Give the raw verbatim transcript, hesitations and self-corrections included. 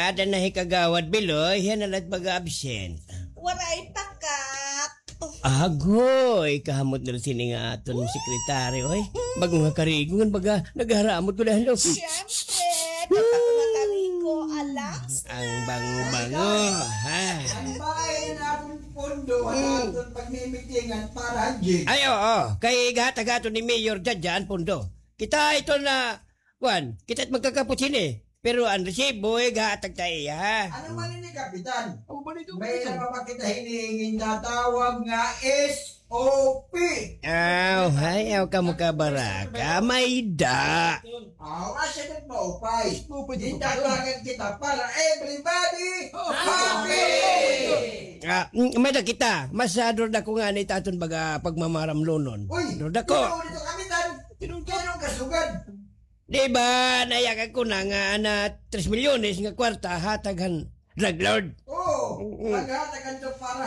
Ada na hi Kagawad Biloy, hiya na la it mag-absent. Waray pakak. Agoy, kahamot na la sini nga aton sekretaryo, oy. Bag-o nga karigo, ngan baga, nagharamot ko dahil, no? Siyempre, kapag makarigo, alas. Ang bango-bango, ha? Ang bahay na aton pondo, ang aton pagmimitingan para, Jing. Ay, oo. Kay gahatag aton ni Mayor Jadja an pondo. Kita ito na, kuan, kita it magkakapot sini. Pero an resibo, eh, gahatag ta iya, ha? Ano man ini, Kapitan? May na ba kita hinihingi nga tawag nga S O P? Aw, hay, aw kamo kabaraka. May da. Aw, asya kat maupay. Maupay. Datagan kita para everybody happy. Ah, mm, may da kita. Mas, ah, durda ko nga ni taton baga pagmamaramlonon. Uy, durda ko. Ikaw dito, Kapitan. Tinungkol. Anong kasugad? Di ba, nayakan ko na nga ana tres milyones nga kwarta hatag han drug lord? Oo, oo. Naghatag han para